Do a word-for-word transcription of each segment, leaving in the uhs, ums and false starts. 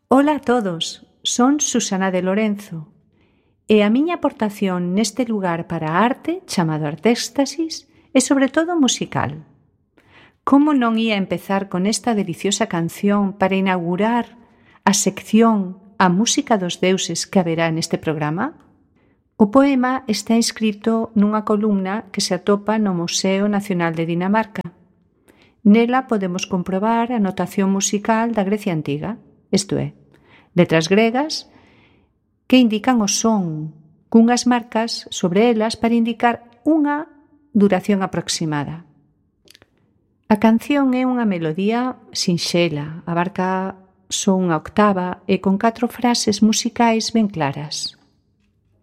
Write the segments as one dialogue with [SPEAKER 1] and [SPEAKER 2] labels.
[SPEAKER 1] Ola a todos, son Susana de Lorenzo e a miña aportación neste lugar para a arte, chamado Artéxtasis, é sobre todo musical. Como non ia empezar con esta deliciosa canción para inaugurar a sección A Música dos Deuses que haberá neste programa? O poema está inscrito nunha columna que se atopa no Museo Nacional de Dinamarca. Nela podemos comprobar a notación musical da Grecia Antiga, isto é, letras gregas que indican o son, cunhas marcas sobre elas para indicar unha duración aproximada. A canción é unha melodía sinxela, abarca só unha octava e con catro frases musicais ben claras.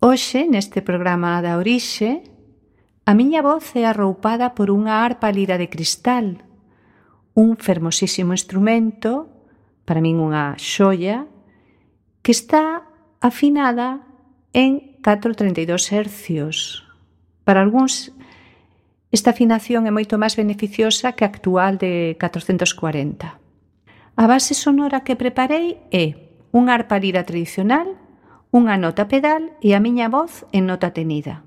[SPEAKER 1] Hoxe, neste programa da Orixe, a miña voz é arroupada por unha arpa lira de cristal, un fermosísimo instrumento, para min unha xoia, que está afinada en catro treinta e dous hercios. Para algúns, esta afinación é moito máis beneficiosa que a actual de catrocentos cuarenta. A base sonora que preparei é unha arpa lira tradicional, unha nota pedal e a miña voz en nota tenida.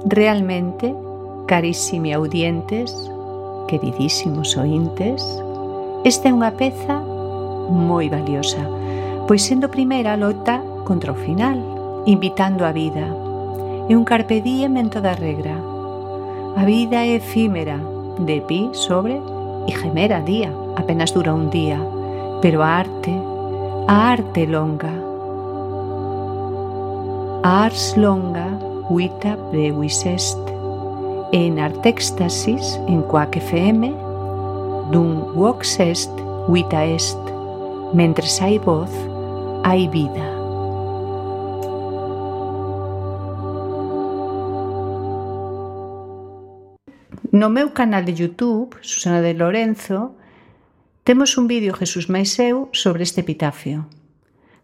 [SPEAKER 1] Realmente, carísimi audientes, queridísimos ointes, esta é unha peza moi valiosa, pois sendo primeira loita contra o final, invitando a vida. É un carpe diem en toda regra. A vida é efímera, de pi sobre e gemera día, apenas dura un día, pero a arte, a arte longa. A ars longa, vita brevis est, en Artéxtasis, en Quack F M, dum vox est, vita est, mentres hai voz, hai vida. No meu canal de YouTube, Susana de Lorenzo, temos un vídeo Jesús máis eu sobre este epitafio.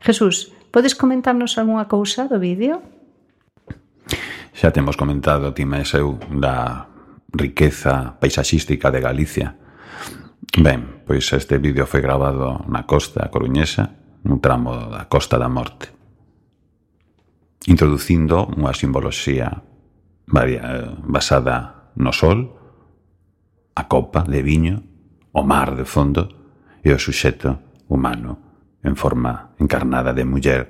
[SPEAKER 1] Jesús, podes comentarnos algunha cousa do vídeo?
[SPEAKER 2] Xa temos comentado ti máis eu da riqueza paisaxística de Galicia. Ben, pois este vídeo foi gravado na costa coruñesa, nun tramo da Costa da Morte, introducindo unha simboloxía basada no sol, a copa de viño, o mar de fondo e o suxeto humano en forma encarnada de muller.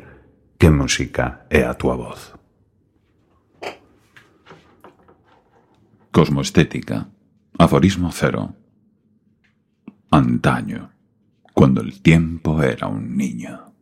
[SPEAKER 2] Que música é a túa voz?
[SPEAKER 3] Cosmoestética. Aforismo cero. Antaño, cuando el tiempo era un niño.